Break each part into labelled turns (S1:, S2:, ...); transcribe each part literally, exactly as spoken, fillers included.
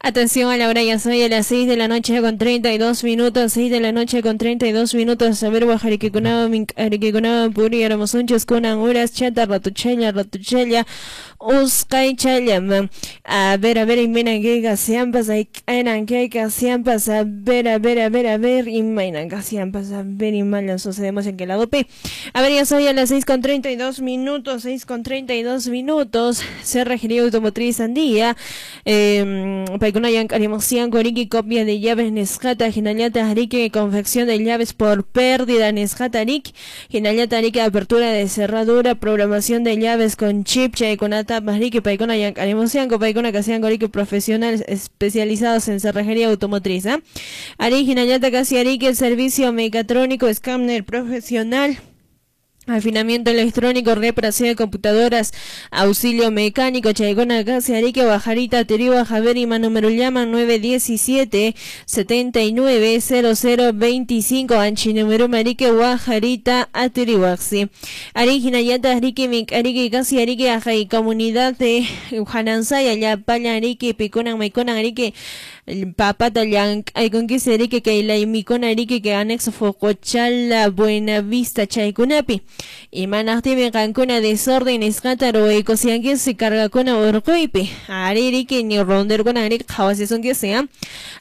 S1: Atención a la hora, ya soy a las seis de la noche con treinta y dos minutos, seis de la noche con treinta y dos minutos. A ver, Guajariquicunaba, Mincariquicunaba, Puri, Aramosunchos, Cunan, Uras, Chata, Ratuchella, Ratuchella, Uscay, Chayama. A ver, a ver, y miren que casiampas, hay eran que casiampas, a ver, a ver, a ver, a ver, y miren casiampas, a ver, y malan sucedemos en que la dope. A ver, ya soy a las seis con treinta y dos minutos, seis con treinta y dos minutos, Cerrajería Automotriz Andía, eh, Paykunayan karimusian koriki copia de llaves nisqata hinallataq riki confección de llaves por pérdida nisqata riki hinallataq riki apertura de cerradura programación de llaves con chip chaykunatapas riki paykunayan karimusianku paykuna kasianku riki profesionales especializados en cerrajería automotriz, ¿eh? Ari hinallataq kasi ariki servicio mecatrónico escáner profesional afinamiento electrónico, reparación de computadoras, auxilio mecánico, Chaygona, Casi, Arique, Bajarita, Teriba, Javier y número llama nueve diecisiete, setenta y nueve, cero cero veinticinco, Anchi número Marique, Guajarita, Aterihuaxi. Ari, Yata, Arique, Mic, Arique, Casi, Arique, Ajay, comunidad de Janansaya, Yapaya, Arique, Piconan, Maiconan, Arique, Papata, Yank, Ayconquise, Arique, Keila, Micona, Arique, que anexo Focochala, Buenavista, Chaycunapi. Y manaqtimi qankuna desorden nisqata ruwaykusiankisi cargakuna urquypi aririki ni ronderkuna ariki qhawasisunkisi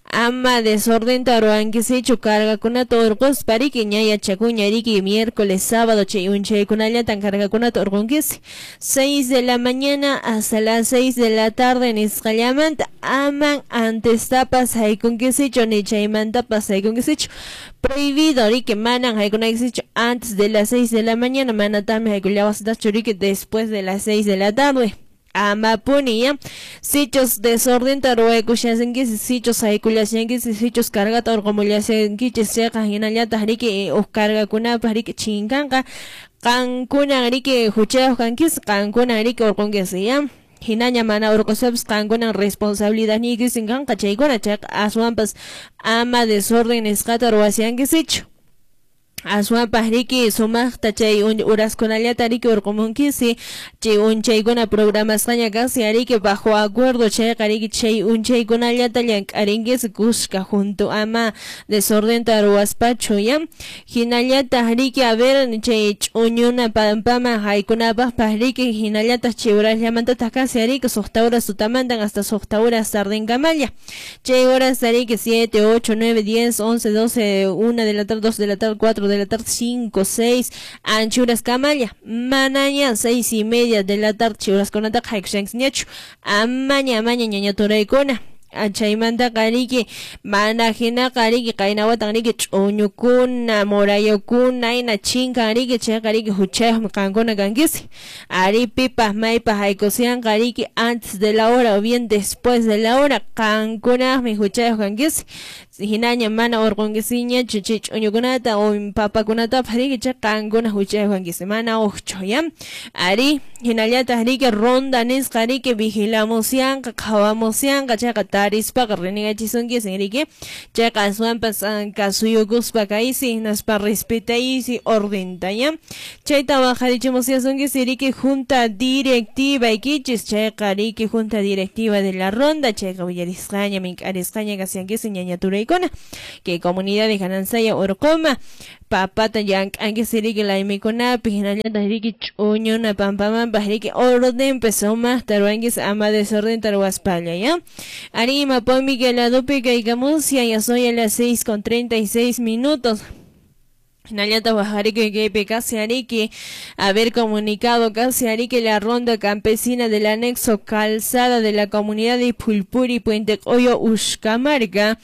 S1: ama desordenta ruwankisichu cargakunata urquspa riki ña yachakuña riki miércoles sábado chay unchaykunallatan cargakunata urqunkisi seis de la mañana hasta las seis de la tarde nisqallamanta aman antestapas haykunkisichu ni chaymantapas haykunkisichu prohibido riki manan haykunaykisichu antes de las seis de la mañana manatami haykullawasitachu riki después de las seis de la tarde amapuni ya sichos desordenta ruwaykushasinkisis sichos haykullashankisis sichos cargata urqumullashankichis chayqa hinallataq riki uq cargakunapaq riki chinkanqa qankuna riki huchayuq kankis qankuna riki urqunkisi ya hinaña mana urqusapis qankuna responsabilidad niykisin kanqa chaykuna chayqa aswanpas ama desorden nisqata ruwashankisichu aswanpas riki sumaqta chay uraskunallata riki urqumunkisi chay unchaykuna programasqaña kasi ariki bajo acuerdo chayqa riki chay unchaykunallata llank'arinkisi kuska junto ama desordenta ruwaspachu ya hinallataq riki a ver chay ch'uñuna pampaman haykunapaqpas riki hinallataq chay uraslamantataq kasi ariki suqta horas tutamantan hasta suqta horas tardenkamalla chay horas ariki siete, ocho, nueve, diez, once, doce, una de la tarde, dos de la tarde, cuatro de la tarde, cinco, seis, anchuras kamalla, manaña, seis y media de la tarde, churas kunataqa haykushankiñachu, amaña, amaña, ñaña turaykuna, chaymantaqa riki, mana hinaqa riki, qaynawatan riki, ch'uñukuna, murayukuna, ina chinkan riki, chayqa riki, huchayuqmi qankuna kankisi, ari pipas maypas haykusianqa riki, antes de la hora o bien después de la hora, qankunaqmi huchayuq kankisi, hinaña mana urqunkisiñachu chay ch'uñukunata o papakunatapas riki, chay qankuna huchayuq kankisi, mana uqchu ya, ari hinallataq riki, ronda nisqa riki, vigilamusianqa, qhawamusianqa, chayqa tarispaqa renegachisunkisin riki, chayqa aswanpas kasuyukuspa kaysi, hinaspa respetaysi ordenta ya, chayta waqarichimusiasunkisi riki, junta directiva ikichis, chayqa riki, junta directiva de la ronda, chayqa willarisqaña, mink'arisqaña kasiankisi ñaña turaykuna, que comunidad de Janansaya urquma, papata llank'ankisi riki laymikunapi, hinallataq riki ch'uñuna pampamanpas riki ordenpi sumaqta ruwankisi ama desordenta ruwaspalla ya. Ari mapami que la dupi kaykamusia, ya soy a las seis con treinta y seis minutos. Hinallata wajariki kaypi kasi ariki haber comunicado casi ariki la ronda campesina del anexo calzada de la comunidad de Pulpuri, Puente Coyo, Uxcamarca,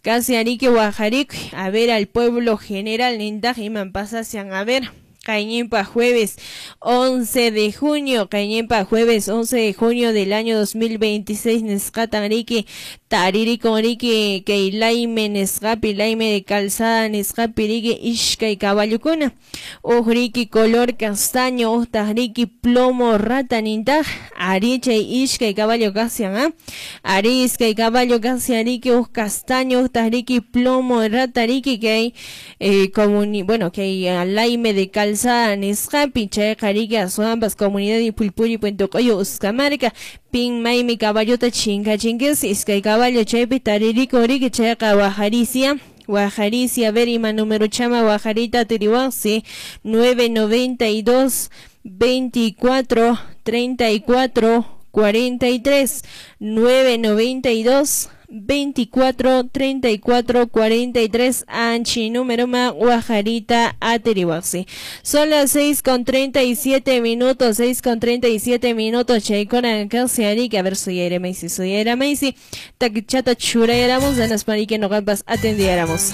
S1: casi ariki wajariki a ver al pueblo general nintaj iman pasasian a ver. Cañempa jueves once de junio, Cañempa jueves once de junio del año dos mil veintiséis, nesqatan riki, taririkun riki, kay layme nesqapi, layme de calzada nesqapi riki, ishkay caballukuna, uj riki color castaño, uhtaq riki plomo rata nintaj, ari chay ishkay caballo kasian, ¿eh? Ari iskay caballo kasian riki, uj castaño, uhtaq riki plomo rata riki, kay, eh, comuni, bueno, kay layme de calzada Calzada nisqapi chayqa riki aswanpas comunidad de Pulpuri Puente Q'uyu Uskamarka pin maymi caballota chinkachinkiz iskay caballo chaypi taririkun riki chayqa waqarisia waqarisia a ver ima número chama waqarita atiriwaqsi nueve noventa y dos veinticuatro treinta y cuatro cuarenta y tres nueve noventa y dos veinticuatro treinta y cuatro cuarenta y tres anchi número ma guajarita atiriwaxi. Son las seis con treinta y siete minutos, seis con treinta y siete minutos, chaykuna casi ari, a ver soy maisi, soy maisi, takichata churayáramos, danas para que no gampas atendiéramos.